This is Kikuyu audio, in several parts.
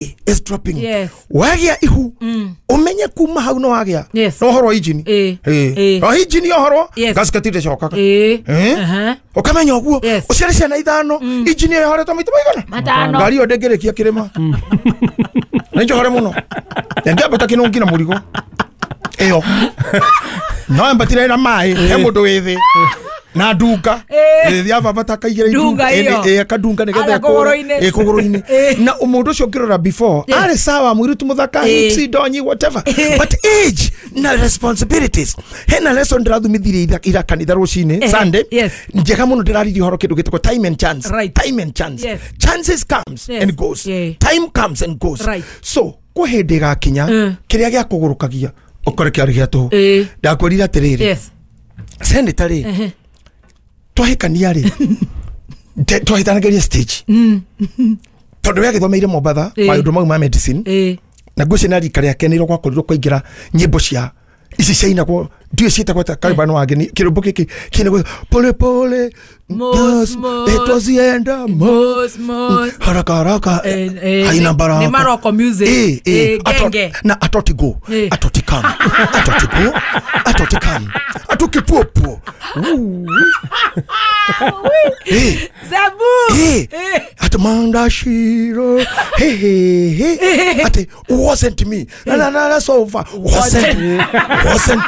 Is dropping. Yes. Wagĩa ihu, ũmenye kuma hau no wagĩa Yes. no ũhoro wa injini. Ĩĩ. Ĩĩ. Ĩĩ. No injini ũhoro Yes. gasket ndĩcokaga. Ĩĩ. Eh? Aha. Ũkamenya ũguo. Yes. Ũciare ciana ithano, injini ĩyo ĩhoretwo maita maigana? Matano. Ngari ĩyo ndĩngĩrĩkia kĩrĩma. Nĩ njohore mũno. Ndĩngĩambata kĩnũngi na mũrigo ĩyo no ambatire na maĩ he mũndũ wĩ thĩ na ndunga. Ĩĩ. Ĩĩ, yabambata akaigĩra. Ndunga ĩyo. Ĩĩ, akandunga nĩgetha Ara kũgũrũ-inĩ. Ĩĩ, kũgũrũ-inĩ. Ĩĩ. Na mũndũ ũcio ũngĩrora before Yes. arĩ sawa, mũirĩtu mũthaka, Ĩĩ. hips, ndonyi, whatever, but age na responsibilities. Hena lesson ndĩrathumithirie ira kanitha rũcinĩ, Eh, Sunday, yes. njega mũno. Ndĩraririe ũhoro kĩndũ gĩtagwo time and chance. Right. Time and chance. Yes. Chances comes Yes. and goes. Yeah. Time comes and goes. Right. So kwĩ hĩndĩ ĩgakinya kĩrĩa gĩa kũgũrũkagia ũkore kĩarĩ gĩa tũhũ. Ĩĩ. Ndakwĩrire atĩrĩrĩ, Yes. senator rĩ, Ehe. twahĩkania rĩ, twahĩtanagĩria stage tondũ we agĩthomeire Mombatha Ĩĩ. maũndũ mau ma medicine. Ĩĩ. Na ngwĩciria na rika rĩake nĩrĩo gwakorirwo kwaingĩra nyĩmbo cia ici ciainagwo, ndiũĩ ciĩtagwo ta karibano wageni, kĩrũmbo gĩkĩ kĩinagwo pole pole. Mos, mos. Twazienda Mos, mos. Haraka haraka Eh, eh, haina baraka. Ni Maroko music. Eh, eh, Eh, genge. Na atoti go, Eh. atoti come, atoti go, atoti come, atukipuopuo. Eh. Zabu. Eh. Eh. Ati manda shiro, hey hey hey, ati wasn't me na na na na sofa wasn't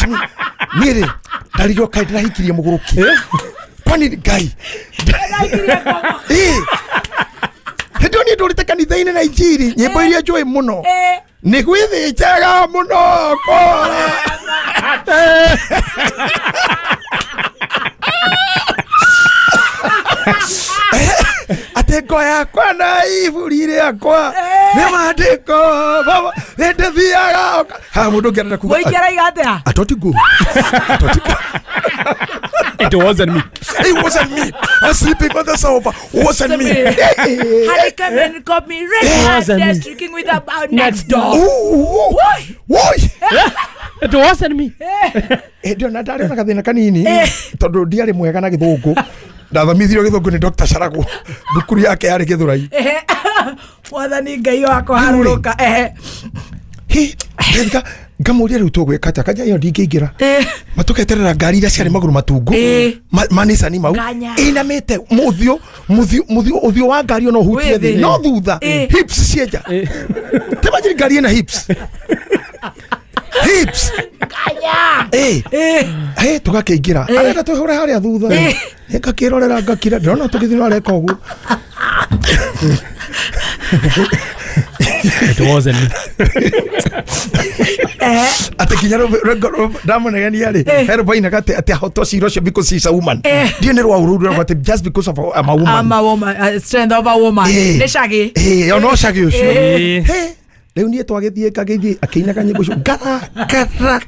me. Niĩ rĩ, ndarigwo kaĩ ndĩrahikirie mũgũrũki, kwani Ngai. Eh. Hĩndĩ ĩyo niĩ ndũrĩte kanitha-inĩ na injiri, nyĩmbo iria njũĩ mũno Eh. nĩ gwĩthĩnjaga mũno kora. Atĩ ngo yakwa na iburi rĩakwa nĩ mandĩko baba nĩndĩthiaga haha mũndũ ũngĩ arenda kuga. Mũingĩ araiga atĩa? Atoti go, atoti go. It wasn't me. It wasn't me. I was sleeping on the sofa. Wasn't me. Had come and got me red Wasn't handed me. streaking with about next door. Ooh, woi. It wasn't me. Hĩndĩ ĩyo na ndarĩ na gathĩna kanini tondũ ndiarĩ mwega na gĩthũngũ. Ndathomithirio gĩthũngũ nĩ Dr. Carago, thukuru yake yarĩ Gĩthũrai. Ehe. Mwathani Ngai wakwa. Rĩu rĩ. Harũrũka. Ehe. Hĩ, ngĩthika ngamũria, rĩu tũgwĩka atĩa? Kanja ĩyo ndingĩingĩra. Eh. Matũketerera ngari iria ciarĩ magũrũ matungu. Ĩĩ. Manicani mau Nganya. ĩinamĩte mũthiũ mũthiũ mũthiũ ũthiũ wa ngari ĩyo no ũhutie Wĩ thĩ thĩ. no thutha. Ĩĩ. Hips cienja temajiri, ngari ĩna hips hips. Nganya. Ĩĩ. Eh. Hey, tũgakĩingĩra, arenda twĩhũre harĩa thutha. Ĩĩ. Ngakĩrorera ngakira, ndĩrona tũgĩthiĩ no areka ũguo. It wasn't me. Ehe. Atĩ nginya ndamũnegenia rĩ, he rũmbo ainaga atĩ ahotwo cira ũcio because she's a woman. Eh. Ndiũ nĩ rwa ũrũru rũrauga atĩ just because of I'm a woman. I'm a woman. Strength of a woman. Eh. Nĩ cagi. Ĩĩ, ona ũcagi ũcio. Eh. He, rĩu niĩ twagĩthiĩ ngagĩthiĩ akĩinaga nyĩmbo icio ngara ngara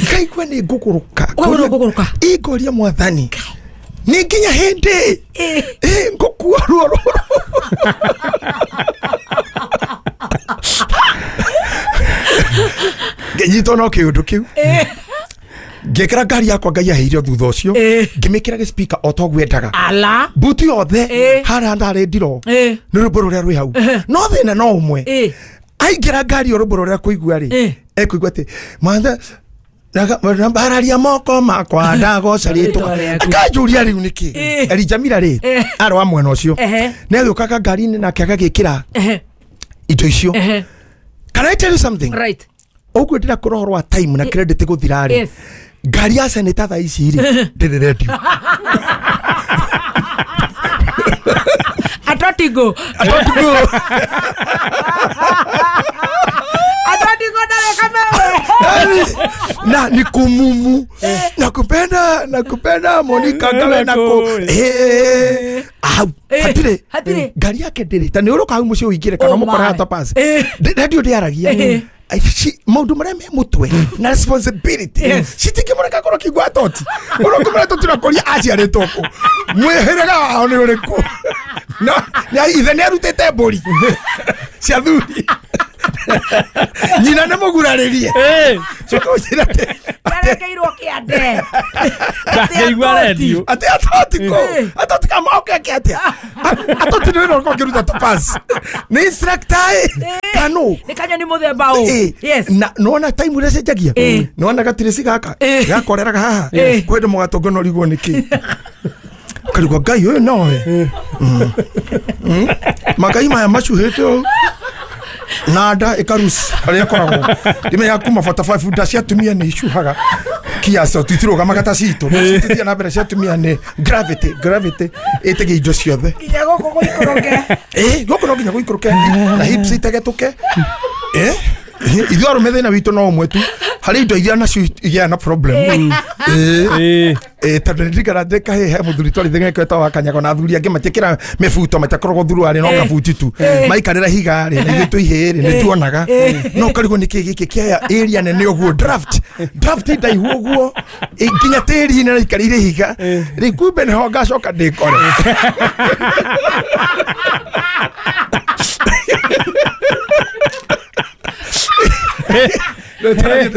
ngaigua nĩ ngũgũrũka. Ũkaigua nĩ ũkũgũrũka? Ĩ, ngoria mwathani nĩ nginya hĩndĩ Eh. ĩ ngũkua ruo rũrũ? Ngĩnyitwo no kĩũndũ kĩu, ngĩkĩra ngari yakwa Ngai aheire thutha ũcio. Eh. Ngĩmĩkĩra gĩspika o ta ũguo endaga. Ala. Mbuti yothe Eh. harĩa ndarĩ ndiro Eh. nĩ rwĩmbo rũrĩa rwĩ hau, no thĩna no ũmwe. Eh. Aingĩra ngari ĩyo, rwĩmbo rũrĩa kũigua rĩ, Eh. ekũigua atĩ mwatha mbararia moko makwa ndagoca rĩtwa. Rĩtwa rĩaku. Akanjũria rĩu nĩkĩ. Eh. Elijamira rĩ, Eh. arĩ wa mwena ũcio, Ehe. nĩ agĩũkaga ngari-inĩ nake agagĩkĩra Ehe. indo icio. Ehe. Can I tell you something? Right. Ũguo ndĩrakũra ũhoro wa time na credit gũthira rĩ, Yes. ngari ya seneta thaa ici rĩ ndĩrĩ redio. Atotigo. Atotigo. Atotigo ndareka mewe. Na ni kumumu nakupenda nakupenda Monica ngawe nako. Eh, au Eh, hatirĩ. hatirĩ. Ngari yake ndĩrĩ ta nĩ ũrũka hau mũciĩ ũingĩre kana Oh mũkore my. hata pass. Eh. Radio ndĩaragia. Eh. Ai, maũndũ marĩa me mũtwe na responsibility Yes. citingĩmũreka korwo kĩigua atoti ũrĩa ũkũmũra tũtirakoria aciarĩtwo kũ, mwĩhĩrĩga wao nĩ ũrĩkũ, na ithe nĩ arutĩte mbũri cia thuri, nyina nĩ mũgurarĩrie. Eh. Coka ũnjĩre atĩ Nderekeirwo kĩande. Ndaigua redio. Atĩ atoti kũ? Atoti kama okay atia. Atoti nĩ wĩra ũrĩkũ ũngĩruta ta pass? Nĩ instructor ĩ? Kano. Nĩ kanyoni mũthemba ũ. Yes. Na nona time ũrĩa cenjagia. Nona gatirĩci gaka. Gakoreraga haha. Kwenda mũgatongo no rigwo nĩkĩ. Karigwo Ngai ũyũ nowe. Magai maya macuhĩte ũũ. Na nda ĩkaruci harĩa ĩkoragwo. Ndimenya kuma 45 nda cia atumia nĩ icuhaga kiasi tutirũgamaga ta citũ. Citithia na mbere cia atumia nĩ gravity ĩtegia indo ciothe. Nginya gũkũ gũikũrũke. Gũkũ no nginya gũikũrũke na hips itegetũke. Ithuĩ arũme thĩna witũ no ũmwe tu. Harĩ indo iria nacio igĩaga na problem. Tondũ ndirikana ndĩ kahĩĩ he mũthuri twarĩ etagwo wa Kanyago na athuri angĩ matiĩkĩra mĩbuto matiakoragwo thuruarĩ no kabuti tu. Maikarĩra higa rĩ na ithuĩ twĩ ihĩĩ rĩ nĩ tuonaga. No ũkarigwo nĩkĩ gĩkĩ kĩaya area nene ũguo draft ndaihu ũguo nginya tĩri-inĩ na ikarĩire ihiga. Rĩu kumbe nĩho ngacoka ndĩkore. Nĩtũraria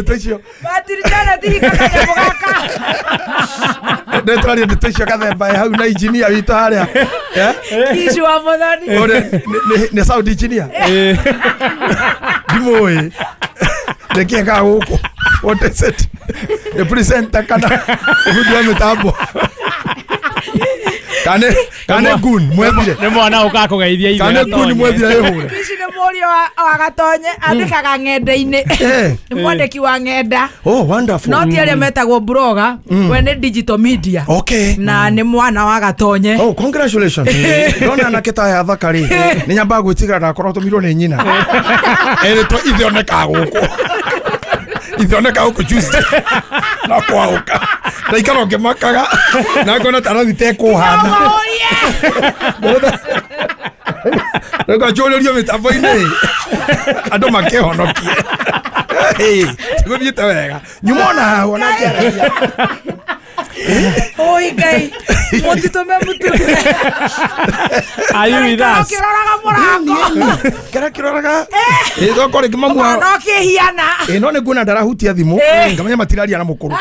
ndeto icio gathemba hau na engineer witũ harĩa. Kicu wa Mũthoni. Nĩ sound engineer. Ndimũĩ. Nĩkĩĩ gũkũ? What is it? Nĩ presenter kana ũbundi wa mĩtambo? Kane gun mwethire. Nĩ mwana ũkaga kũgeithia ithe. Kane gun mwethire ĩhũre. Kicu nĩ mũriũ wa Gatonye andĩkaga ng'enda-inĩ. Nĩ mwandĩki wa ng'enda. Oh, wonderful. No ti arĩa metagwo blogger, we nĩ digital media. Okay. Na nĩ mwana wa Gatonye. Oh, congratulations. Ndona anake ta aya athaka rĩ. Nĩ nyambaga gwĩtigĩra ndakorwo tũmirwo nĩ nyina. Erĩtwo ithe onekaga gũkũ. Ithe onekaga gũkũ Tuesday. Na kwaũka. Ndaikara ngĩmakaga. Na ngona ta arathi tekũhana. Reka njũrĩrio mĩtambo-inĩ. Andũ makĩhonokie. Tigũthiĩte wega. Nyuma ona haha ona ngĩaragia. Oi Ngai, mũtitũme mũtune. Are you with us? Kĩroraga mũrango. Kĩrĩa kĩroraga. Tokorwo rĩngĩ mamu wao. No kĩhiana. No nĩ nguona ndarahutia thimũ. Ngamenya matiraria na mũkũrũ.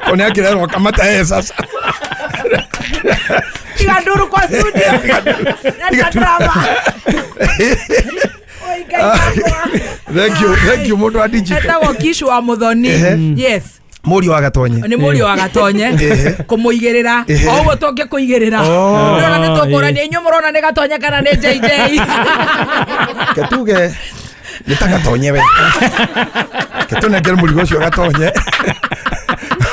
Nĩ akĩrerwo kamata sasa. Tiga nduru kwa studio. Na drama. Oi Ngai wakwa. Thank you mũndũ wa digital. Etagwo Kicu wa Mũthoni. Yes. Mũriũ wa Gatonye. Nĩ mũriũ wa Gatonye. Kũmũigĩrĩra. O ũguo tũngĩkũigĩrĩra. Ũrona nĩ tũkũrania inyuĩ mũrona nĩ Gatonye kana nĩ JJ. Ketuge nĩ ta Gatonye we. Ketũnengere mũrigo ũcio Gatonye.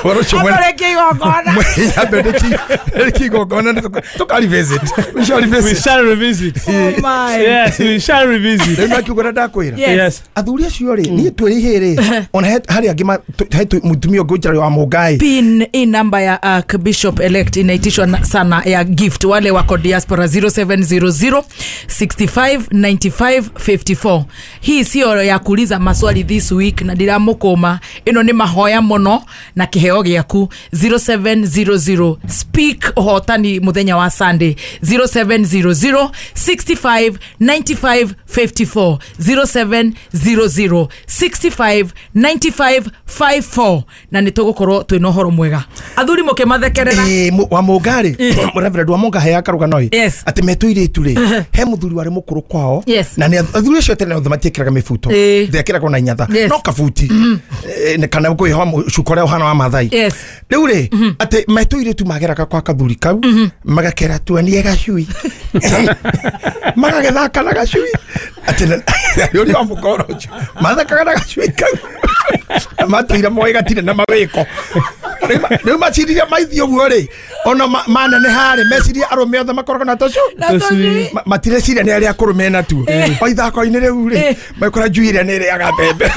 Ũhoro ũcio mwena. Amũrĩkie igongona. Nyambe ndĩkie igongona tũka revisit. We shall revisit. We shall revisit. Oh my. Yes, we shall revisit. Rĩu nakiuga ũrĩa ndakwĩra. Yes. Athuri acio rĩ, niĩ twĩ ihĩĩ rĩ, ona harĩ angĩ he mũtumia ũngĩ ũnjĩraga wa Mũngai. Pin hii namba ya Bishop elect inaitishwa sana ya gift wale wako diaspora 0700 65 95 54. Hii sio ya kuuliza maswali this week na ndiramũkũma. Ĩno nĩ mahoya mũno na kĩheo gĩaku 0700 speak ũhotani mũthenya wa Sunday 0700 65 95 54 0700 65 95 54 na nĩ tũgũkorwo twĩna ũhoro mwega. Athuri mũkĩmathekerera. Wa Mũnga rĩ, Reverend wa Mũnga heaga karũgano ĩ. Atĩ metwo irĩtu rĩ, he mũthuri warĩ mũkũrũ kwao. Na nĩ athuri acio tene othe matiĩkĩraga mĩbuto. Ndekĩragwo na inyatha. No kabuti. Kana kwĩhoa cuka ũrĩa ũhana wa Mathai. Rĩu rĩ, atĩ metwo irĩtu mageraga kwa kathuri kau, magakera tuonie gacui. Magagĩthaka na gacui. Atĩ ũrĩa wa mũkoro ũcio, mathakaga na gacui kau. Matũire moĩ gatirĩ na mawĩko. Rĩu maciririe maithiĩ ũguo rĩ, ona maneneha rĩ, mecirie arũme othe makoragwo na tũcui. Matireciria nĩ arĩa akũrũ mena tuo. O ithako-inĩ rĩu rĩ, makora njui ĩrĩa nĩ ĩrĩaga mbembe.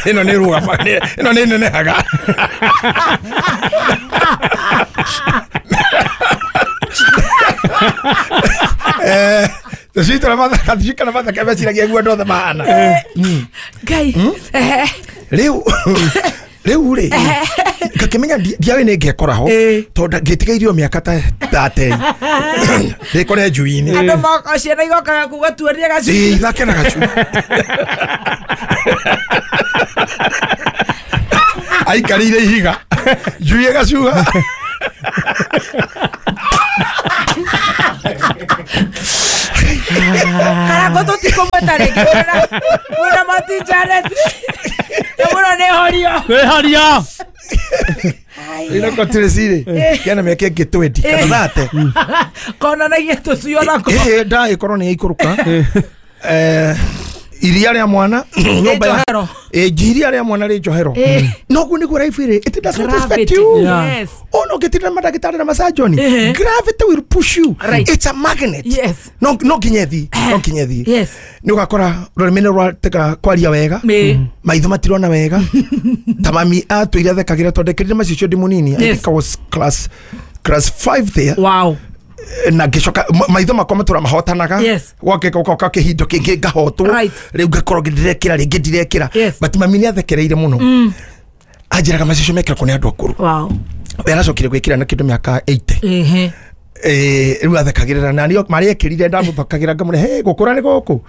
Ĩno nĩ ĩrũgamaga, ĩno nĩ ĩnenehaga. Tũcui tũrĩa mathaka, tũcui kana mathaka meciragia guo andũ othe mahana. Ngai. Rĩu rĩ, ngakĩmenya ndiaũĩ nĩ ngekora ho, tondũ ngĩtigairio mĩaka ta 30. Ndĩkore njui-inĩ. Andũ ciana igokaga kuga tuonie gacui. Ithake na gacui. Aikarĩire ihiga njui ĩgacuha. Karangũ tũtikũmwĩta rĩngĩ mwĩna Mati Janet. Mũno nĩ horio. Nĩ horio. Ĩno Tracy rĩ kĩana mĩaka ĩngĩ 20 kana 30. Konanagia tũcui onako. Nda ĩkorwo nĩ yaikũrũka. Iria rĩa mwana nyũmba ya iria rĩa mwana rĩ njohero. Noguo nĩguo life ĩrĩ. It does not respect you. Yes. Ono ũngĩtinda na mandagĩtarĩ na masurgeon, gravity will push you. Right. It's a magnet. Yes. No nginya ĩthiĩ. No nginya ĩthiĩ. Yes. Nĩ ũgakora rũrĩmĩ nĩ rwatega kwaria wega. Maitho matirona wega. Ta mami atũire athekagĩra tondũ ndekĩrire macicio ndĩ mũnini. I think I was class 5 there. Wow. Na ngĩcoka maitho makwa matũra mahotanaga. Yes. Gwake kĩhindo kĩngĩ ngahotwo. Rĩu ngakorwo ndirekĩra rĩngĩ ndirekĩra. But mami nĩ athekereire mũno. Anjĩraga macicio mekĩragwo nĩ andũ akũrũ. Wow. We aracokire gwĩkĩra na kĩndũ mĩaka 80. Rĩu athekagĩrĩra na niĩ marĩa ekĩrire ndamũthakagĩra ngamũre he gũkũra nĩ gũkũ.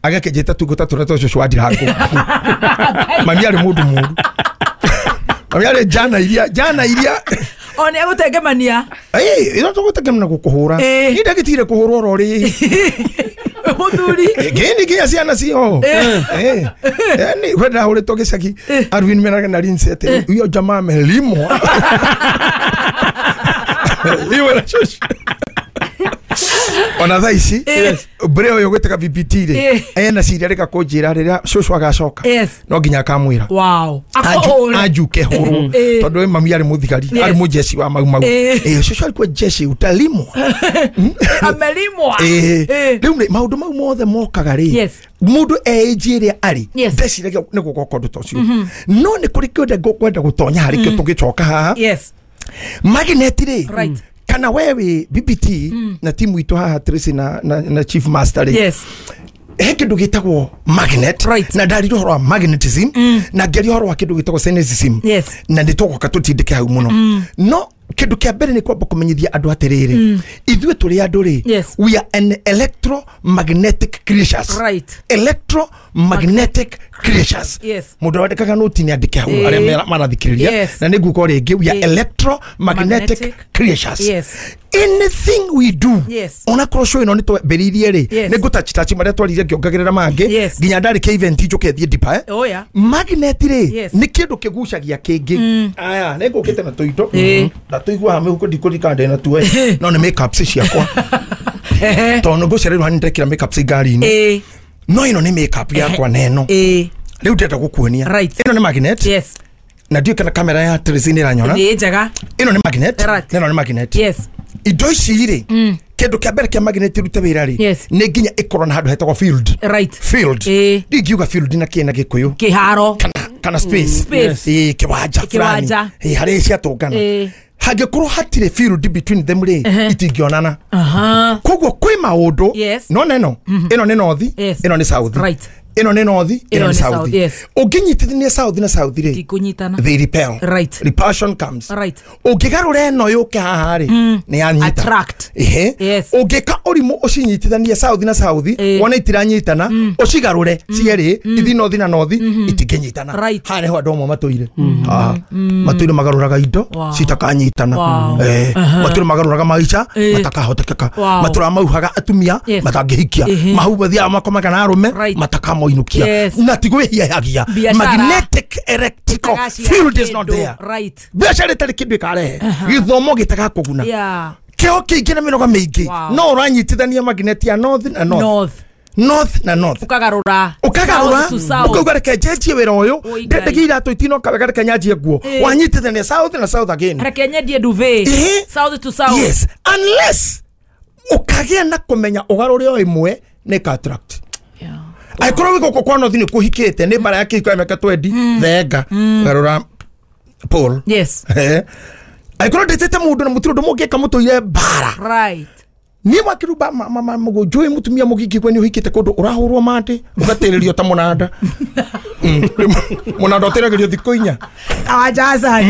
Agakĩnjĩta tungũ ta tũrĩa twa cũcũ wa ndirangũ. Mami arĩ mũndũ mũũru. Mami arĩ njana iria O nĩ agũtengemania. Ĩno tũgũtengemana gũkũhũra. Niĩ ndagĩtigire kũhũrwo oro rĩ. Mũthuri. Ngĩni nginya ciana cio. Yaani we ndahũrĩtwo gĩcagi. Arvin meraga na Lindsay atĩ huyo jamaa amelimwa. Iwe na shosho. Ona thaa ici mbere ũyũ gwĩtaga BBT rĩ ena ciria rĩka kũnjĩra rĩrĩa cũcũ agacoka no nginya akamwĩra. Wow. Anjuke hũrwo tondũ we mami arĩ mũthigari arĩ mũjeshi wa Mau Mau. Cũcũ alikuwa jeshi utalimwa. Amelimwa. Rĩu maũndũ mau mothe mokaga rĩ mũndũ age ĩrĩa arĩ ndeciragia nĩ gũgoka ũndũ ta ũcio. No nĩ kũrĩ kĩũndũ ngũkwenda gũtonya harĩ kĩo tũgĩcoka haha. Magnet rĩ kana wewe BBT na timu itũ haha Tracy na Chief Master rĩ. Yes. He kĩndũ gĩtagwo magnet. Right. Na ndarire ũhoro wa magnetism na ngĩaria ũhoro wa kĩndũ gĩtagwo cynicism. Yes. Na nĩ tũgũka tũtindĩke hau mũno. No kĩndũ kĩa mbere nĩ kwamba kũmenyithia andũ atĩrĩrĩ ithuĩ tũrĩ andũ rĩ we are an electromagnetic creatures. Right. Electromagnetic creatures. Yes. Mũndũ wandĩkaga noti nĩ andĩke hau arĩa marathikĩrĩria. Na nĩ nguga rĩngĩ we are electromagnetic creatures. Yes. Anything we do. Yes. Ona korwo show ĩno nĩ twambĩrĩirie rĩ nĩ ngũtachitachi marĩa twarire ngĩongagĩrĩra mangĩ nginya ndarĩkia event njũke thiĩ deeper. Oh yeah. Magnet rĩ nĩ kĩndũ kĩgucagia kĩngĩ. Aya nĩ ngũkĩte na tũindo na tũiguaga mĩhuko ndikũririkana ndĩ na tuo no nĩ makeups ciakwa tondũ ngũcererwo hanini ndekĩra makeups ngari-inĩ. No ĩno nĩ makeup yakwa na ĩno rĩu ndĩrenda gũkuonia. Ĩno nĩ magnet. Yes. Na ndiũĩ kana kamera ya Tracy nĩ ĩranyona. Nĩ njega. Ĩno nĩ magnet na ĩno nĩ magnet. Yes. Indo ici rĩ kĩndũ kĩa mbere kĩa magnet ĩrute wĩra rĩ nĩ nginya ĩkorwo na handũ hetagwo field. Right. Field. Ndingiuga field na kĩ na Gĩkũyũ. Kĩharo. Kana space. Kĩwanja fulani. Harĩa ciatũngana. Hangĩkorwo hatirĩ field between them rĩ itingĩonana. Koguo kwĩ maũndũ no neno ĩno nĩ north ĩno nĩ south. Right. Ĩno nĩ north ĩno nĩ south. Ũngĩnyitithania south na south rĩ tikũnyitana. They repel. Right. Repulsion comes. Right. Ũngĩgarũra ĩno yũke haha rĩ nĩ yanyita. Attract. Yes. Ũngĩka ũrimũ ũcinyitithanie south na south wone itiranyitana ũcigarũre cierĩ ithi north na north itingĩnyitana. Haha nĩho andũ amwe matũire. Matũire magarũraga indo citakanyitana. Matũire magarũraga maica matakahotekeka. Matũraga mauhaga atumia matangĩhikia. Mahu mathiaga makomaga na arũme matakamoi. Yes. Na tigwĩhiahagia. Magnetic electrical field is not there. Right. Biacara ĩtarĩ kĩndũ ĩkarehe. Gĩthomo gĩtagakũguna. Kĩo kĩingĩ na mĩnoga mĩingĩ. No ũranyitithania magnet ya north na north. North na north. Ũkagarũra. Ũkagarũra. Ũkauga reke njenjie wĩra ũyũ. Ndendagia iratũ itinoka wega reke nyanjie nguo. Wanyitithania south na south again. Reke nyendie duvet. South to south. Yes. Unless ũkagĩa na kũmenya ũgarũre o ĩmwe nĩ ĩka attract. Angĩkorwo wĩ gũkũ kwa north nĩ kũhikĩte nĩ mbara ya kĩhiko ya mĩaka 20 thenga garũra pole. Yes. Angĩkorwo ndĩtĩte mũndũ na mũtirĩ ũndũ mũngĩka mũtũire mbara. Right. Niĩ wakĩrumba njũĩ mũtumia mũgingĩ kwe nĩ ũhikĩte kũndũ ũrahũrwo mandĩ ũgatĩrĩrio ta mũnanda. Mũnanda ũtĩragĩrio thikũ inya. Awajaza.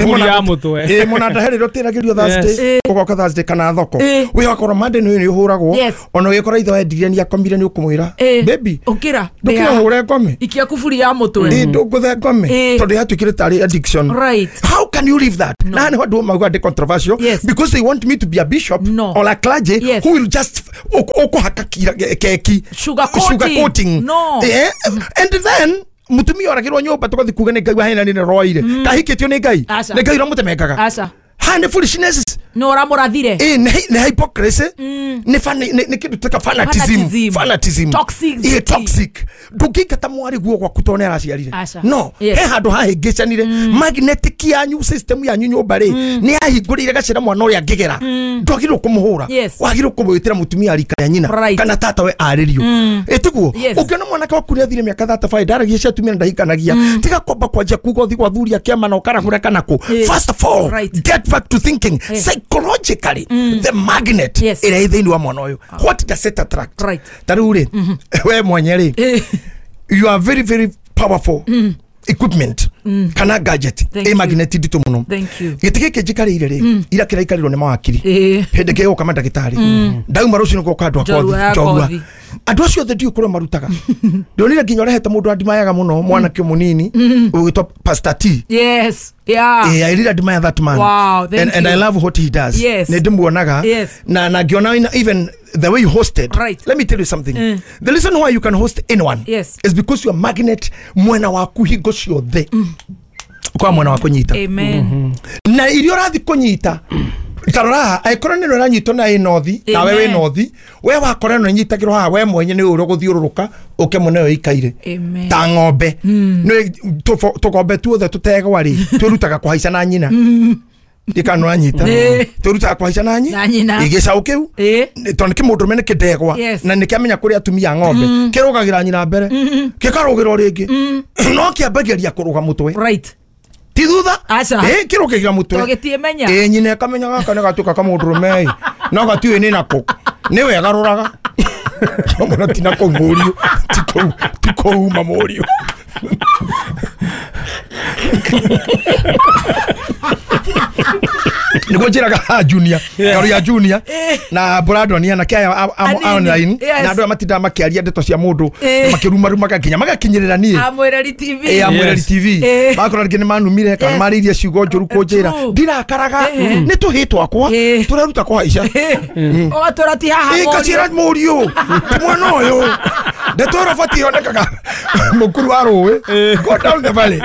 Kuburi ya mũtwe. Ĩ mona ndaherĩrwo tĩragĩrio Thursday ũgoka Thursday kana thoko wĩhakora Monday nĩ ũhũragwo ona ũgĩkora ithe wendirie nĩ akomire nĩ ũkũmwĩra baby ũkĩra ndũkĩra hũre ngome ikia kuburi ya mũtwe ĩ ndũngũthe ngome tondũ yatuĩkire tarĩ addiction. Right. How can you leave that? Na nĩ andũ mauga ndĩ controversial because they want me to be a bishop or a clergy who will just ũkũhaka keki sugar coating. No. And then mutumia oragirwo nyumba tugathi kuga nĩ Ngai wahena nĩ roire kahikĩtio nĩ Ngai nĩ Ngai ũramũtemengaga ha nĩ foolishness no ũramũrathire nĩ hypocrisy nĩ nĩ kĩndũ ta fanatism toxic toxic ndũngĩingata mwarĩ guo gwaku tondũ nĩ araciarire no he handũ hahĩngĩcanire magnetic yanyu system yanyu nyũmba rĩ nĩ yahingũrĩire gacĩra mwana ũrĩa angĩgera ndwagĩrĩirwo kũmũhũra wagĩrĩirwo kũmwĩtĩra mũtumia rika ya nyina kana tata we arĩrio ĩtiguo ũngĩona mwanake waku nĩ athire mĩaka 35 ndaragia cia atumia na ndahikanagia tiga kwamba kwanjia kuga ũthiĩ gwa thuri a kĩama na ũkaragũra kana kũ. First of all, get back to thinking psychologically the magnet ĩrĩa ĩ thĩinĩ wa mwana ũyũ. What does it attract? Ta rĩu rĩ we mwenye rĩ you are very very powerful equipment kana gadget ĩ magnet nditũ mũno. Gĩtĩ gĩkĩ njikarĩire rĩ ira kĩraikarĩrwo nĩ mawakiri hĩndĩ ĩngĩ gũka mandagĩtarĩ ndauma rũciũ nĩgũka andũ a kothi njorua andũ acio othe ndiũĩ kũrĩa marutaga ndonire nginya ũrehete mũndũ andimayaga mũno mwanake mũnini ũgwĩtwo Pastor T. Yes. Yeah. I really admire that man. Wow, thank and you. I love what he does. Yes. Nĩndĩmuonaga na ngiona even the way you hosted. Right. Let me tell you something. The reason why you can host anyone is because you are magnet mwena waku hingo ciothe kwa mwena wa kũnyita. Amen. Na iria ũrathi kũnyita tarora angĩkorwo nĩ ũranyitwo na ĩ nothi nawe wĩ nothi we wakora no nyitagĩrwo haha we mwenye nĩ ũrĩa ũgũthiũrũrũka ũke mũne ũikaire ta ng'ombe nĩ tũgombe tuothe tũtegwa rĩ twĩrutaga kũhaica na nyina ndikano anyita twĩrutaga kũhaica na nyina gĩcaũ kĩu tondũ kĩmũndũrũme nĩ kĩndegwa na nĩkĩamenya kũrĩa atumia a ng'ombe kĩrũgagĩra nyina mbere gĩkarũgĩra rĩngĩ no kĩambagĩria kũrũga mũtwe ti thutha kĩrũkĩgira mũtwe nyina ĩkamenya gaka nĩ gatuĩka kamũndũrũme no gatiũĩ nĩ nakũ nĩ wega rũraga mũno ti nakũu mũriũ ti kũu uma mũriũ nĩguo njĩraga junior ngaru ya junior na Brandon na kaya online na andũ aya matindaga makĩaria ndeto cia mũndũ makĩrumarumaga nginya magakinyĩrĩra niĩ Amwĩreri TV Amwĩreri TV makora rĩngĩ nĩ manumire kana marĩirie ciugo njũru kũnjĩra ndirakaraga nĩ tũhĩ twakwa tũreruta kũhaica ũgatũra ti haha ngacĩra mũriũ ti mwana ũyũ ndeto ĩyo batiĩ yonekaga mũkuru wa rũĩ go down the valley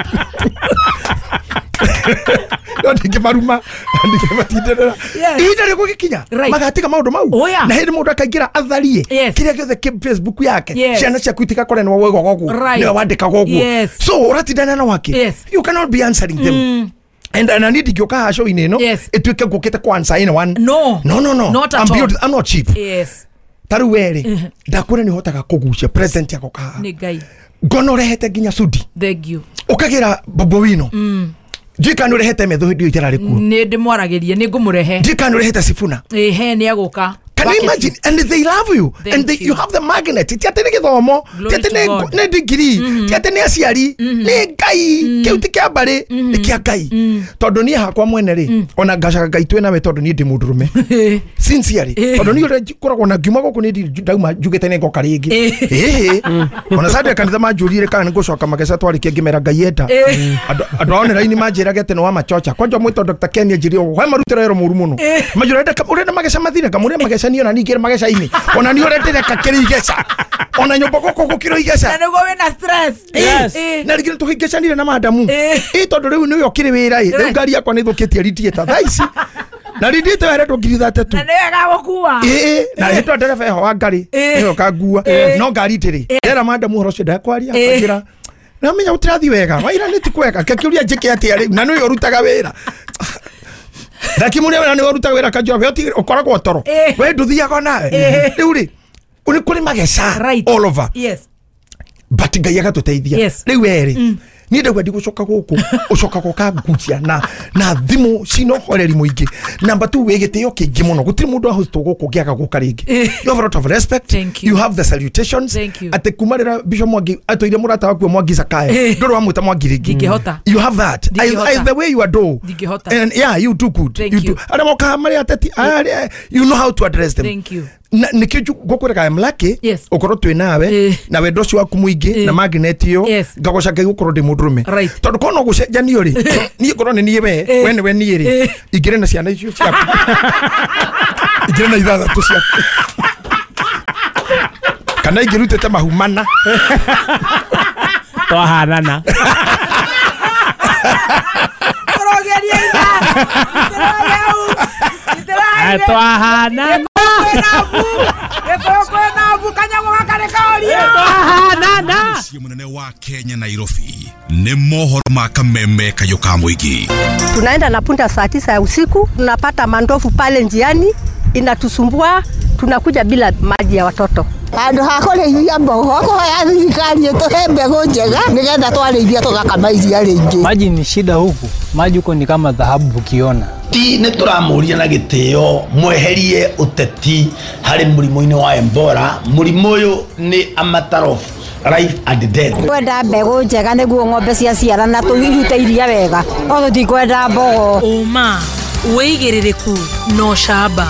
no ndingĩmaruma ndingĩmatindanĩra ihinda rĩgũgĩkinya magatiga maũndũ mau na hĩndĩ mũndũ akaingĩra atharie kĩrĩa gĩothe kĩ Facebook yake ciana ciaku itigakore nĩwe waugaga ũguo nĩwe wandĩkaga ũguo so ũratindana na wake you cannot be answering them and I need ndingĩũka haha show-inĩ ĩno ĩtuĩke ngũkĩte kũ answer anyone no no no no not at all. I'm not cheap. Yes. Ta rĩu we rĩ ndakwĩra nĩ ũhotaga kũgucia present yako kaha nĩ Ngai ngona ũrehete nginya sudi thank you ũkagĩra Bobo Wino ndika nĩ ũrehete metho hĩndĩ ĩyo itararĩ kuo nĩ ndĩmwaragĩrie nĩ ngũmũrehe ndika nĩ ũrehete Sifuna ĩhe nĩ agũka Can you imagine? And they love you. Thank and they, you have the magnet. Ti atĩ nĩ gĩthomo ti atĩ nĩ degree ti atĩ nĩ aciari nĩ Ngai kĩu ti kĩa mbarĩ nĩ kĩa Ngai tondũ niĩ hakwa mwene rĩ ona ngacaga Ngai twĩ nawe tondũ niĩ ndĩ mũndũrũme sincerely tondũ niĩ ũrĩa ngoragwo na ngiuma gũkũ nĩ ndauma njugĩte nĩ ngoka rĩngĩ ĩhĩ ona Sunday kanitha manjũrire kana nĩ ngũcoka mageca twarĩkia ngĩmera Ngai enda andũ a online manjĩrage atĩ nĩ wa machocha kwanja mwĩtwo Dr. Ken anjĩrire we marutĩra wĩra mũru mũno manjũra ũrenda mageca mathire ngamũria mageca niĩ ona ningĩ mageca-inĩ ona niĩ ũrĩa ndĩreka kĩrĩ igeca ona nyũmba gũkũ gũkĩrwo igeca na nĩguo wĩna stress na rĩngĩ nĩtũhĩngĩcanire na madamu ĩ tondũ rĩu nĩwe ũkĩrĩ wĩra ĩ rĩu ngari yakwa nĩ ĩthũkĩtie radiator thaa ici na radiator yaretwo 30,000 na nĩwe gagũkua ĩ na rĩtwa ndereba eho wa ngari nĩwe ũkangua no ngari ndĩrĩ ndera madamu ũhoro ũcio ndekwaria akĩra namenya gũtirathi wega waira nĩ ti kwega ngakĩũria njĩke atĩa rĩu na nĩwe ũrutaga wĩra ndakimuria wĩra nĩwe ũrutaga wĩra kanjũra we ũkoragwo toro we ndũthiaga nawe rĩu rĩ nĩ kũrĩ mageca all over yes but Ngai agatũteithia Yes. rĩu werĩ Niĩ ndauga ndigũcoka gũkũ ũcoka gũka ngucia na thimũ cina ũhoreri mũingĩ. Number 2 wĩ gĩtĩo kĩingĩ mũno, gũtirĩ mũndũ ahostwo gũkũ ũngĩaga gũka rĩngĩ. You have a lot of respect. Thank you. You have the salutations. Thank you. Atĩ kuma rĩrĩa Bishop Mwangi atũire mũrata waku Mwangi Zakayo ndũrĩ wamwĩta Mwangi rĩngĩ. Ndingĩhota. You have that. Ndingĩhota. The way you adore. Ndingĩhota. And yeah, you do good. Thank you you. do. Arĩa mokaga marĩ ateti, you know how to address them. Thank you. Nĩkĩo ngũkwĩraga I'm lucky Yes. ũkorwo twĩ nawe na wendo ũcio waku mũingĩ na magnet ĩyo Yes. ngagoca Ngai gũkorwo ndĩ mũndũrũme. Right. Tondũ korwo no gũcenjanio rĩ, niĩ ngorwo nĩ niĩ we, we nĩwe niĩ rĩ, ingĩrĩ na ciana icio ciaku, ingĩrĩ na ithathatũ ciaku, kana ingĩrutĩte mahu mana. Twahanana. Tũrogeria itha. Twahanana. Mũciĩ mũnene wa Kenya Nairobi nĩ mohoro ma kameme kayũ ka mũingĩ. Tunaenda na punda saa 9 ya usiku, tunapata mandovu pale njiani inatusumbua, tunakuja bila maji ya watoto. Handũ ha kũrĩithia mbogo kũhoya thirikari ĩtũhe mbegũ njega nĩgetha twarĩithia tũgakama iria rĩingĩ. Maji ni shida huku, maji huko ni kama dhahabu ukiona. Ti nĩ tũramũria na gĩtĩo mweherie ũteti harĩ mũrimũ-inĩ wa Ebola. Mũrimũ ũyũ nĩ a matter of life and death. Kwenda mbegũ njega nĩguo ng'ombe ciaciarana tũirute iria wega, no tũtikwenda mbogo. Ũma wĩigĩrĩrĩku no camba.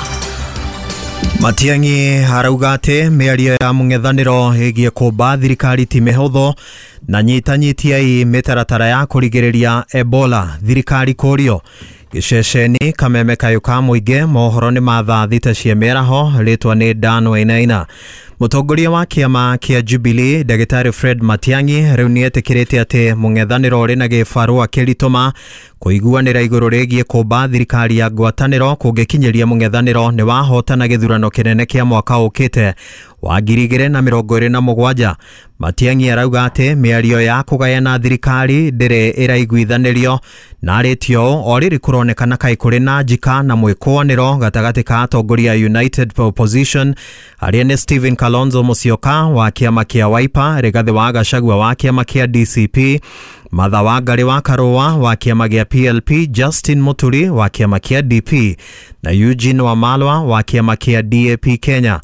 Matiang'i arauga atĩ mĩario ya mũng'ethanĩro ĩgiĩ kũmba thirikari ti mĩhũthũ na nyitanyitiai mĩtaratara ya kũrigĩrĩria Ebola thirikari kũrio. Gĩceceni kameme kayũ ka mũingĩ mohoro nĩ ma thaa 6 cia mĩaraho rĩtwa nĩ Dan Wainaina. Mũtongoria wa kĩama kĩa Jubilee Ndagĩtarĩ Fred Matiang'i rĩu nĩetĩkĩrĩte atĩ mũng'ethanĩro ũrĩ na gĩbarũa kĩritũma kũiguanĩra igũrũ rĩgiĩ kũmba thirikari ya ngwatanĩro kũngĩkinyĩria mũng'ethanĩro nĩ wahotana gĩthurano kĩnene kĩa mwaka ũkĩte wa 2027. Matiang'i arauga atĩ mĩario ya kũgayana thirikari ndĩrĩ ĩraiguithanĩrio na arĩtie ũũ o rĩrĩ kũronekana kaĩ kũrĩ na njika na mwĩkũanĩro gatagatĩ ka atongoria United Opposition arĩa nĩ Stephen Kalonzo Musyoka wa kĩama kĩa Wiper, Rigathĩ wa Gachagua wa kĩama kĩa DCP, Martha Wangari wa Karũa wa kĩama gĩa PLP, Justin Muturi wa kĩama kĩa DP na Eugene Wamalwa wa kĩama kĩa DAP Kenya.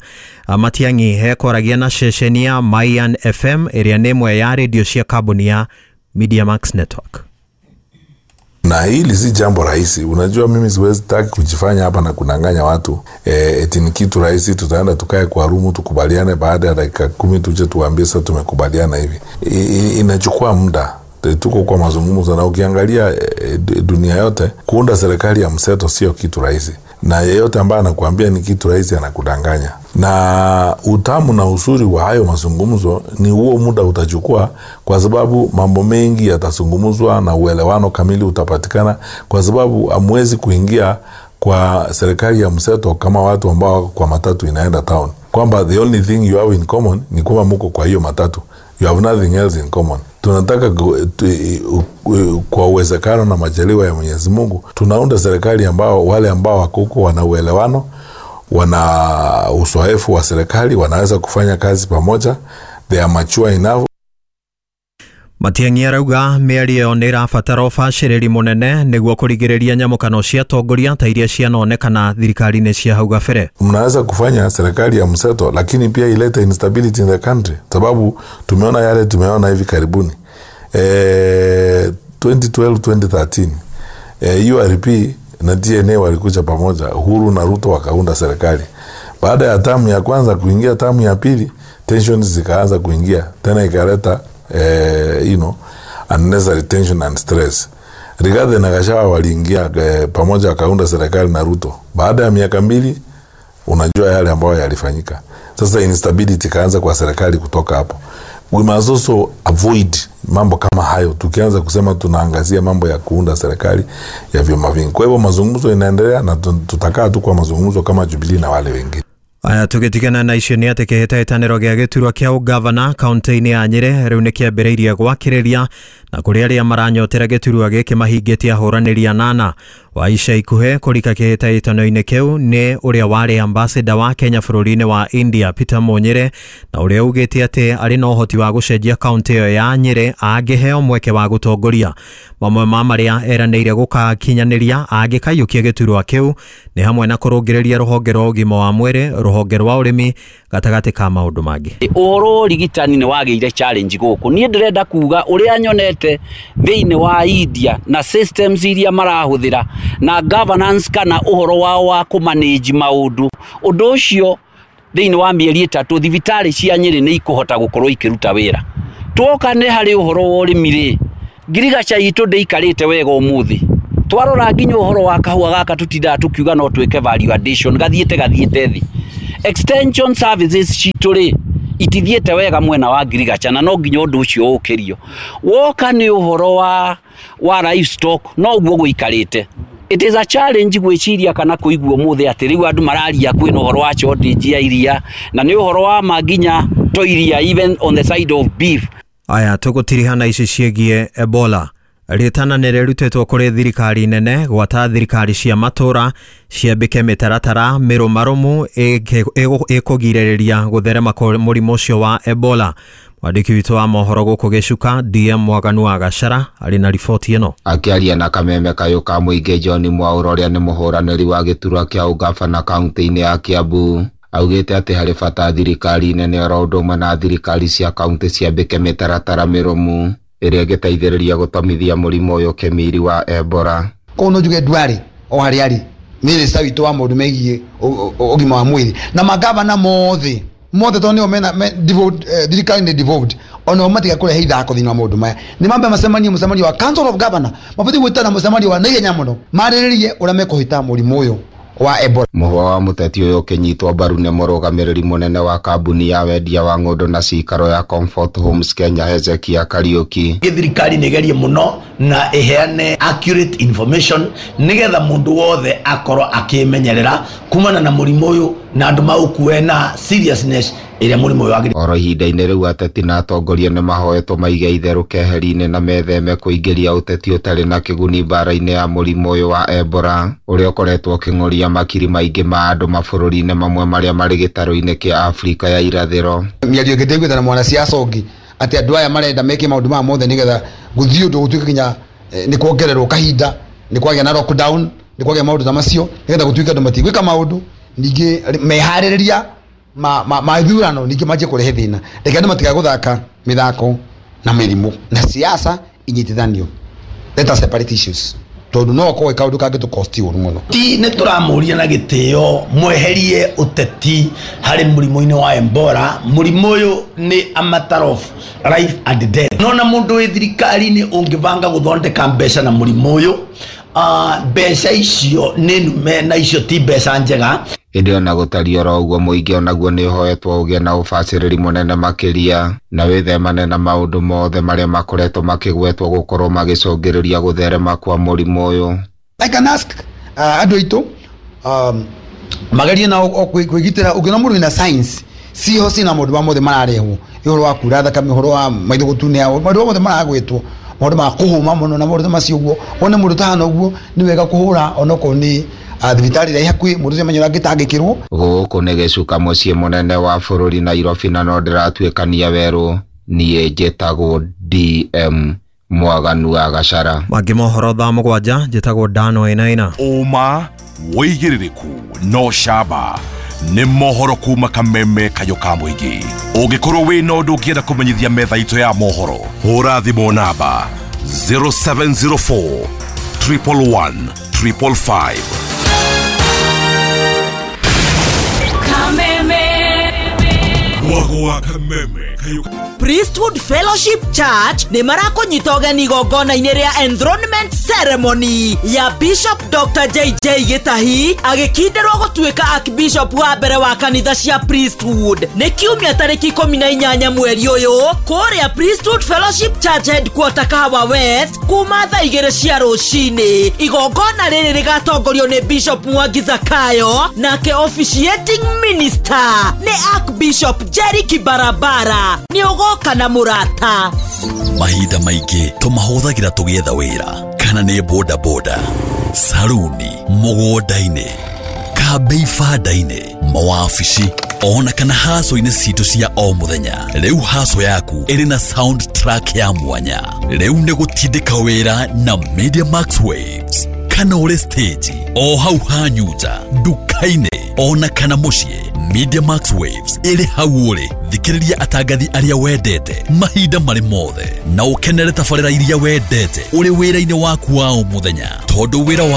Matiang'i hekoragia na ceceni ya Mayan FM ĩrĩa nĩ ĩmwe ya redio cia kambuni ya Mediamax Network. Na hili si jambo rahisi. Unajua mimi siwezi taki kujifanya hapa na kunanganya watu eti ni kitu rahisi, tutaenda tukae kwa rumu tukubaliane, baada ya dakika 10 tuje tuambie sasa tumekubaliana hivi. Inachukua muda. Tuko kwa mazungumzo, na ukiangalia dunia yote kuunda serikali ya mseto sio kitu rahisi, na yeyote ambaye anakuambia ni kitu rahisi anakudanganya. Na utamu na uzuri wa hayo mazungumzo ni huo muda utachukua, kwa sababu mambo mengi yatazungumzwa na uelewano kamili utapatikana, kwa sababu hamwezi kuingia kwa serikali ya mseto kama watu ambao kwa matatu inaenda town, kwamba the only thing you have in common ni kwamba mko kwa hiyo matatu, you have nothing else in common. Tunataka kwa uwezekano na majaliwa ya Mwenyezi Mungu tunaunda serikali ambao wale ambao wako huko wana uelewano, wana uzoefu wa serikali, wanaweza kufanya kazi pamoja, they are mature enough. Matiang'i arauga mĩario nĩ ĩrabatara ũbacĩrĩri mũnene nĩguo kũrigĩrĩria nyamũkano cia atongoria ta iria cianonekana thirikari-inĩ cia hau gabere. Mnaweza kufanya serikali ya mseto lakini pia ilete instability in the country, sababu tumeona yale tumeona hivi karibuni. 2012 2013 URP na DNA walikuja pamoja, Uhuru na Ruto wakaunda serikali. Baada ya tamu ya kwanza kuingia tamu ya pili, tensions zikaanza kuingia tena, ikaleta unnecessary tension and stress. Rigathi na Gachagua waliingia pamoja wakaunda serikali na Ruto. Baada ya miaka 2 unajua yale ambayo yalifanyika. Sasa instability kaanza kwa serikali kutoka hapo. We must also avoid mambo kama hayo. Tukianza kusema tunaangazia mambo ya kuunda serikali ya vyama vingi. Kwa hivyo mazungumzo inaendelea na tutakaa tu kwa mazungumzo kama Jubilee na wale wengine. Aya, tugitigana na icio nĩ atĩ kĩhĩtahĩtanĩro gĩa gĩturwa kĩa ũgavana kaunti-inĩ ya Nyĩrĩ rĩu nĩ kĩambĩrĩirie gwakĩrĩria, na kũrĩ arĩa maranyotera gĩturwa gĩkĩ mahingĩtie ahũranĩri anana. Wa ica ikuhĩ kũrika kĩhĩtahĩtano-inĩ kĩu nĩ ũrĩa warĩ ambassador wa Kenya bũrũri-inĩ wa India Peter Munyire, na ũrĩa ugĩte atĩ arĩ na ũhoti wa gũcenjia kaunti ĩyo ya Nyĩrĩ angĩheo mweke wa gũtongoria. Mamwe ma marĩa eranĩire gũkakinyanĩria angĩkaiyũkia gĩturwa kĩu nĩ hamwe na kũrũngĩrĩria rũhonge rwa ũgima wa mwĩrĩ, rũhonge rwa ũrĩmi, gatagatĩ ka maũndũ mangĩ. Ũhoro ũrigitani nĩ wagĩire challenge gũkũ. Niĩ ndĩrenda kuga ũrĩa nyonete thĩinĩ wa India na systems iria marahũthĩra na governance kana ũhoro wao wa kũmanage maũndũ, ũndũ ũcio thĩinĩ wa mĩeri 3 thibitarĩ cia Nyĩrĩ nĩ ikũhota gũkorwo ikĩruta wĩra. Twoka nĩ harĩ ũhoro wa ũrĩmi rĩ, ngirigaca itũ ndĩikarĩte wega ũmũthĩ. Twarora nginya ũhoro wa kahũa gaka tũtindaga tũkiuga no twĩke value addition, gathiĩte thĩ. Extension services citũ rĩ itithiĩte wega mwena wa ngirigaca, na no nginya ũndũ ũcio ũkĩrio. Woka nĩ ũhoro wa livestock no ũguo gũikarĩte. It is a challenge gwĩciria kana kũigua ũmũthĩ atĩ rĩu andũ mararia kwĩna ũhoro wa shortage ya iria, na nĩ ũhoro wa ma nginya to iria even on the side of beef. Aya, tũgũtirihana ici ciĩgiĩ Ebola. Rĩtana nĩ rĩrutĩtwo kũrĩ thirikari nene gwata thirikari cia matũra ciambĩke mĩtaratara mĩrũmarũmu ĩkũgirĩrĩria gũtherema kwa mũrimũ ũcio wa Ebola. Mwandĩki witũ wa mohoro gũkũ Gĩcuka DM Mwaganu wa Gacara arĩ na riboti ĩno. Akĩaria na kameme kayũ ka mũingĩ John Mwaũra ũrĩa nĩ mũhũranĩri wa gĩturwa kĩa ũgabana kaunti-inĩ ya Kiambu, augĩte atĩ harĩ bata thirikari nene oro ũndũ ũmwe na thirikari cia kaunti ciambĩke mĩtaratara mĩrũmu ĩrĩa ĩngĩteithĩrĩria gũtomithia mũrimũ ũyũ kĩmiri wa Ebola. Koguo no njuge ndwarĩ o harĩa arĩ minista witũ wa maũndũ megiĩ ũgima wa mwĩrĩ na magavana mothe tondũ nĩo mena thirikari nĩ devolved, onao matiga kũrehe ithako thĩinĩ wa maũndũ maya. Nĩ mambe macemanie mũcemanio wa Council of Governor, mabatiĩ gwĩtana mũcemanio wa naihenya mũno marĩrĩrie ũrĩa mekũhĩta mũrimũ ũyũ wa Ebola. Mũhwa wa mũteti ũyũ ũkĩnyitwo mbaru nĩ mũrũgamĩrĩri mũnene wa kambuni ya wendia wa ng'ũndũ na cikaro ya Comfort Homes Kenya Hezekia Kariuki. Thirikari nĩ ĩgerie mũno na ĩheane accurate information nĩgetha mũndũ wothe akorwo akĩmenyerera kumana na mũrimũ ũyũ na andũ maũkue na seriousness ĩrĩa mũrimũ ũyũ wagĩrĩire. Oro ihinda-inĩ rĩu ateti na atongoria nĩ mahoetwo maige itherũ keheri-inĩ na metheme kũingĩria ũteti ũtarĩ na kĩguni mbara-inĩ ya mũrimũ ũyũ wa Ebola ũrĩa ũkoretwo ũkĩng'ũria makiri maingĩ ma andũ mabũrũri-inĩ mamwe marĩa marĩ gĩtarũ-inĩ kĩa Afrika ya irathĩro. Mĩario ĩngĩ ndĩiguĩte na mwanasiasa ũngĩ atĩ andũ aya marenda meke maũndũ maya mothe nĩgetha gũthiĩ ũndũ gũtuĩke nginya nĩ kuongererwo kahinda, nĩ kwagĩa na lockdown, nĩ kwagĩa maũndũ ta macio nĩgetha gũtuĩke andũ matigwĩka maũndũ, ningĩ meharĩrĩria ma ithurano ningĩ manjie kũrehe thĩna. Reke andũ matigae gũthaka mĩthako na mĩrimũ na siasa inyitithanio. Let us separate issues tondũ no okorwo kaũndũ kangĩ tũkosti ũru mũno. Ti nĩ tũramũria na gĩtĩo mweherie ũteti harĩ mũrimũ-inĩ wa Ebola. Mũrimũ ũyũ nĩ a matter of life and death. Nona mũndũ wĩ thirikari-inĩ ũngĩbanga gũthondeka mbeca na mũrimũ ũyũ, mbeca icio nĩ nume na icio ti mbeca njega. Ĩndĩ ona gũtariĩ oro ũguo mũingĩ onaguo nĩ ũhoetwo ũgĩe na ũbacĩrĩri mũnene makĩria na wĩthemane na maũndũ mothe marĩa makoretwo makĩgwetwo gũkorwo magĩcũngĩrĩria gũtherema kwa mũrimũ ũyũ. I can ask andũ aitũ magerie na kwĩgitĩra. Ũngĩona mũndũ wĩna science ciho cina maũndũ ma mothe mararehwo, ũhoro wa kura thakame, ũhoro wa maitho gũtunĩha, maũndũ mothe maragwetwo, maũndũ ma kũhũma mũno na maũndũ macio ũguo. Wone mũndũ tahana ũguo nĩ wega kũhũra onokorwo nĩ thibitarĩ ĩrĩa ĩ hakuhĩ, mũndũ ũcio amenye ũrĩa angĩtangĩkĩrwo. Gũkũ nĩ Gĩcuka mũciĩ mũnene wa bũrũri Nairobi, na no ndĩratuĩkania werũ. Niĩ njĩtagwo DM Mwaganu wa Gacara. Mangĩ mohoro thaa 7, njĩtagwo Dano Ĩnaina. Ũma wĩigĩrĩrĩku no camba nĩ mohoro kuma kameme kayũ ka mũingĩ. Ũngĩkorwo wĩna ũndũ ũngĩenda kũmenyithia metha itũ ya mohoro, hũra thimũ namba 0704 111 555. Priesthood Fellowship Church nĩ marakũnyita ũgeni igongona-inĩ rĩa enthronement ceremony ya Bishop Dr. JJ Gĩtahi agĩkindĩrwo gũtuĩka Archbishop wa mbere wa kanitha cia Priesthood. Nĩ kiumia tarĩki 18 mweri ũyũ kũrĩa Priesthood Fellowship Church headquarter Kahawa West kuma thaa 2 cia rũcinĩ. Igongona rĩrĩ rĩgatongorio nĩ Bishop Mwangi Zakayo, nake officiating minister nĩ Archbishop Jerry Kibarabara. Nĩ ũgoka na mũrata. Mahinda maingĩ tũmahũthagĩra tũgĩetha wĩra kana nĩ boda boda. Saruni, mũgũnda-inĩ, kambĩ ibanda-inĩ, mawabici ona kana haco-inĩ citũ cia o mũthenya. Rĩu haco yaku ĩrĩ na sound track ya mwanya. Rĩu nĩ gũtindĩka wĩra na Media Max Waves, kana ũrĩ stage o hau hanyu nja, nduka-inĩ ona kana mũciĩ. Media Max Waves ĩrĩ hau ũrĩ. Thikĩrĩria atangathi arĩa wendete mahinda marĩ mothe na ũkenere tabarĩra iria wendete ũrĩ wĩra-inĩ waku wa o mũthenya, tondũ wĩra wa